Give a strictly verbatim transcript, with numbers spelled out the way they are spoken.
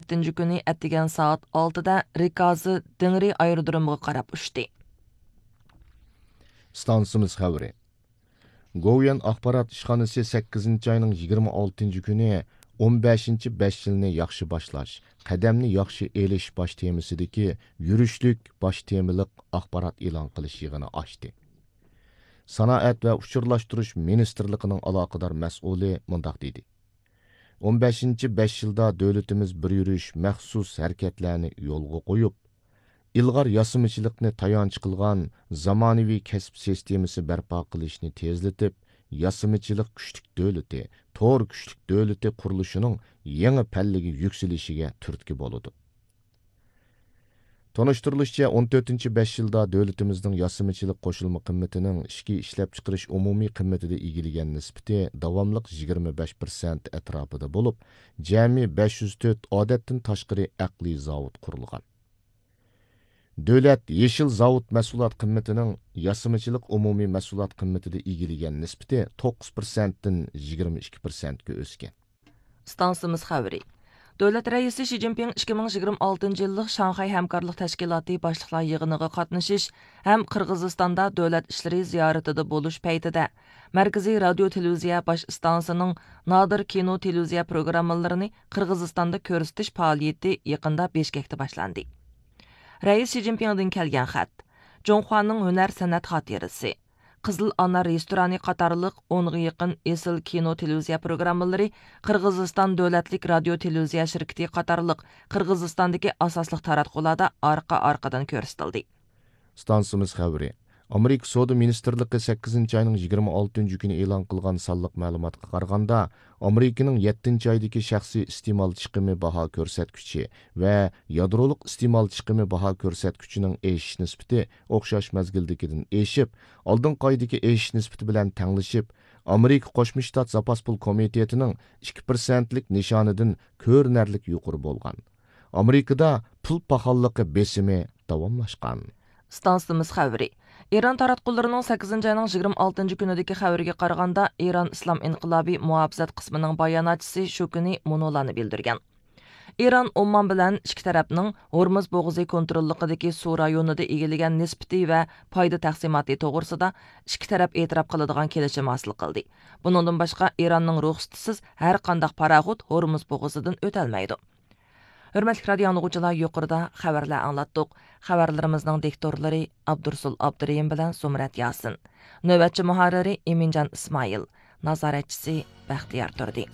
يەتتىنچى كۈنى ئەتىگەن سائەت ئالتىدە رىكازى دېڭرى ئايرودرومىغا قاراپ ئۇچتى. ئىستانسىمىز خەۋىرى. گوۋۇيۈەن ئاخبارات ئىشخانىسى سەككىزىنچى ئاينىڭ يىگىرمە ئالتىنچى كۈنى ئون بەشىنچى بەش يىلنى ياخشى باشلاش، قەدەمنى ياخشى ئېلىش باش تېمىسىدىكى يۈرۈشلۈك باش تېمىلىق ئاخبارات ئېلان قىلىش يىغىنى ئاچتى. سانائەت ۋە ئۇچۇرلاشتۇرۇش مىنىستىرلىقىنىڭ ئالاقىدار مەسئۇلى مۇنداق دېدى: «ئون بەشىنچى بەش يىلدا دۆلىتىمىز بىر يۈرۈش مەخسۇس ھەرىكەتلەرنى يولغا قويۇپ، ئىلغار ياسىمىچىلىقنى تايانچ قىلغان زامانىۋى كەسىپ سىستېمىسى بەرپا قىلىشنى تېزلىتىپ، ياسىمىچىلىق كۈچلۈك دۆلىتى، تور كۈچلۈك دۆلىتى قۇرۇلۇشىنىڭ يېڭى پەللىگە يۈكسىلىشىگە تۈرتكە بولىدۇ.» تونۇشتۇرۇلۇشىچە، ئون تۆتىنچى بەش يىلدا دۆلىتىمىزنىڭ ياسىمىچىلىق قوشۇلما قىممىتىنىڭ ئىچكى ئىشلەپچىقىرىش ئومۇمىي قىممىتىدە ئىگىلىگەن نىسبىتى داۋاملىق يىگىرمە بەش پىرسەنت ئەتراپىدا بولۇپ، جەمئىي بەش يۈز تۆت ئادەتتىن تاشقىرى ئەقلىي زاۋۇت قۇرۇلغان. دۆلەت يېشىل زاۋۇت مەھسۇلات قىممىتىنىڭ ياسىمىچىلىق ئومۇمىي مەھسۇلات قىممىتىدە ئىگىلىگەن نىسبىتى توققۇز پىرسەنتتىن يىگىرمە ئىككى پىرسەنتكە ئۆسكەن. ئىستانسىمىز خەۋىرى. دۆلەت رەئىسى شى جىنپىڭ ئىككى مىڭ يىگىرمە ئالتىنچى يىللىق شاڭخەي ھەمكارلىق تەشكىلاتى باشلىقلار يىغىنىغا قاتنىشىش ھەم قىرغىزىستاندا دۆلەت ئىشلىرى زىيارىتىدە بولۇش پەيتىدە، مەركىزىي رادىيو تېلېۋىزىيە باش ئىستانسىسىنىڭ نادىر كىنو تېلېۋىزىيە پروگراممىلىرىنى قىرغىزىستاندا كۆرسىتىش پائالىيىتى يېقىندا بىشكەكتە باشلاندى. رەئىس شى جىنپىڭدىن كەلگەن خەت. جۇڭخۇانىڭ ھۈنەر سەنئەت خاتىرىسى، قىزىل ئانار رېستورانى قاتارلىق ئونغا يېقىن ئېسىل كىنو تېلېۋىزىيە پروگراممىلىرى قىرغىزىستان دۆلەتلىك رادىيو تېلېۋىزىيە شىركىتى قاتارلىق قىرغىزىستاندىكى ئاساسلىق تاراتقۇلاردا ئارقا-ئارقىدىن كۆرسىتىلدى. ئىستانسىمىز خەۋىرى. ئامېرىكا سودا مىنىستىرلىقى سەككىزىنچى ئاينىڭ يىگىرمە ئالتىنچى كۈنى ئېلان قىلغان سانلىق مەلۇماتقا قارىغاندا، ئامېرىكىنىڭ يەتتىنچى ئايدىكى شەخسىي ئىستېمال چىقىمى باھا كۆرسەتكۈچى ۋە يادرولۇق ئىستېمال چىقىمى باھا كۆرسەتكۈچىنىڭ ئېشىش نىسبىتى ئوخشاش مەزگىلدىكىدىن ئېشىپ، ئالدىنقى ئايدىكى ئېشىش نىسبىتى بىلەن تەڭلىشىپ، ئامېرىكا قوشما شتات زاپاس پۇل كومىتېتىنىڭ ئىككى پىرسەنتلىك نىشانىدىن كۆرۈنەرلىك يۇقىرى بولغان. ئامېرىكىدا پۇل پاخاللىقى بېسىمى داۋاملاشقان. ئىستانسىمىز خەۋىرى. ئىران تاراتقۇلىرىنىڭ سەككىزىنچى ئاينىڭ يىگىرمە ئالتىنچى كۈنىدىكى خەۋىرىگە قارىغاندا، ئىران ئىسلام ئىنقىلابى مۇھاپىزەت قىسمىنىڭ باياناتچىسى شۇ كۈنى مۇنۇلارنى بىلدۈرگەن. ئىران ئومان بىلەن ئىككى تەرەپنىڭ ھورمۇز بوغۇزى كونتروللۇقىدىكى سۇ رايونىدا ئىگىلىگەن نىسبىتى ۋە پايدا تەقسىماتى توغرىسىدا ئىككى تەرەپ ئېتىراپ قىلىدىغان كېلىشىم ھاسىل قىلدى. بۇنىڭدىن باشقا، ئىراننىڭ رۇخسىتىسىز ھەر قانداق پاراخوت ھورمۇز بوغۇزىدىن ئۆتەلمەيدۇ. ھۆرمەتلىك رادىئو ئاڭلىغۇچىلار، يۇقىرىدا خەۋەرلەر ئاڭلاتتۇق. خەۋەرلىرىمىزنىڭ دىكتورلىرى ئابدۇرسۇل ئابدۇرېھىم بىلەن زۇمرەت ياسىن. نۆۋەتچى مۇھەررىرى ئىمىنجان ئىسمائىل. نازارەتچىسى بەختىيار تۇردى.